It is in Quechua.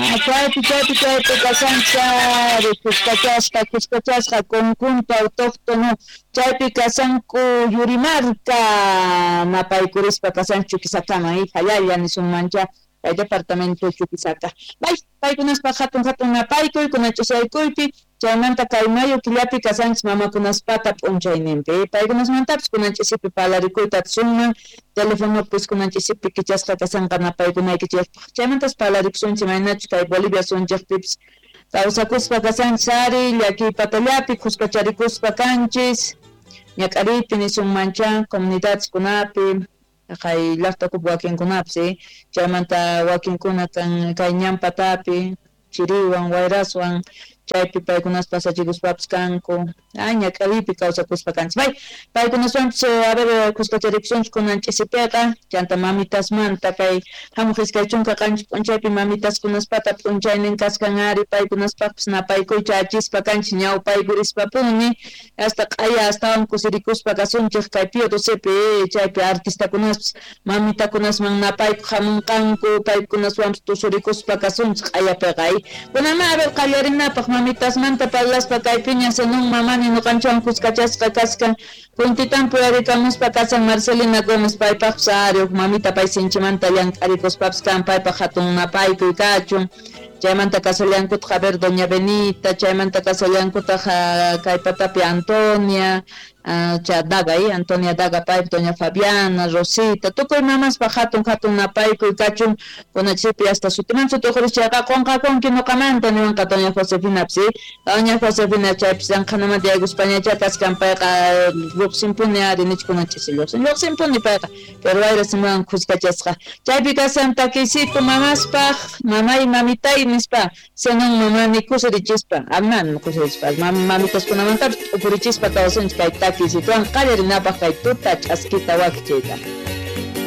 Chaypi chaypi chaypi kasanchari kuskachasqa kuskachasqa conjunto autóctono chaypi kasanku Yurimarka napaykurispa kasan Chuquisakaman hallalla nisunmancha kay departamento Chuquisaca. Bay paykunaspa hatun hatun napaykuy kunach'usaykuypi chaymanta kay mayo killapi kasanchis mamakunaspata p'unchayninpi paykunasmantapis kunanch'isipi parlarikuyta atisunman telefonopis kunanch'isipi kichasqa kasanqa napaykunaykichikpaq chaymantas parlarikusunchik imaynachus kay Bolivia sunchikpipis kawsakuspa kasanchis ari llakiy patallapi kuskacharikuspa kanchis ñak'ariypi nisunmancha comunidadeskunapi kay llaqtakupi wakinkunapis chaymanta wakinkuna kan kay ñan patapi chiriwan wayraswan chaypi paykunas pasachikuspapis kanku ñak'ariypi kawsakuspa kanchis bay paykunaswanpis a ver kuskacharikusunchik kunan ch'isipiqa chanta mamitasmanta kay hamuq 27 p'unchaypi mamitaskunaspata p'unchaynin kaskan ari paykunaspaqpis napaykuycha achispa kanchis ñawpaykurispapuni hasta q'aya astawan kusirikuspa kasunchik kay Pío XIIpi chaypi artistakunaspis mamitakunasman napaykuq hamunqanku paykunaswanpis tusurikuspa kasunchik q'ayapiqa kunanma a ver qallarinapaq mamitasmanta parlaspa kaypiña Zenón Mamani ñuqanchikwan kuskachasqa kaskan puntitan puyarikamuspa kasan Marcelina Gómez paypaqpis ari huk mamita pay sinchimanta llank'arikuspapis kan paypaq hatun napaykuy kachun chaymanta kasallankutaq a ver doña Benita chaymanta kasallankutaq kay patapi Antonia cha Daga Antonia Daga paypi doña Fabiana Rosita tukuy mamaspaq hatun hatun napaykuy kachun kunachipi hasta sutiman sutiqurish chayqa qunqakunki ñuqamanta niwanqa doña Josefina doña Josefina chaypis llanqhanamanta yaykuspañachá kaskan payqa lluqsinpuni ari nich kunanchis lluqsin lluqsinpuni payqa pero wayra simuwan kuskachasqa chaypi kasan takisito mamaspaq mamay mamitay nispa Zenón Mamani kusirichispa aman kusirichispa mamitaskunamantapis t'ukurichispa kawsanchik kay takisituwan qallarinapaq kay tuta ch'askita wakichiyta.